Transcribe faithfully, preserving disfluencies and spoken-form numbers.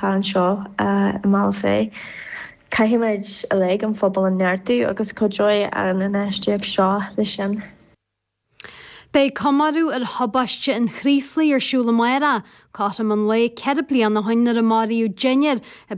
anseo i mBealach Féich. Caithfimid uilig an phobal a neartú agus cuideoidh an infheistíocht seo leis sin. Beidh comóradh ar thubaiste an Chraoslaigh ar siúl amárach, cothrom an lae ceithre bliana ó shin nuair a maraíodh deichniúr i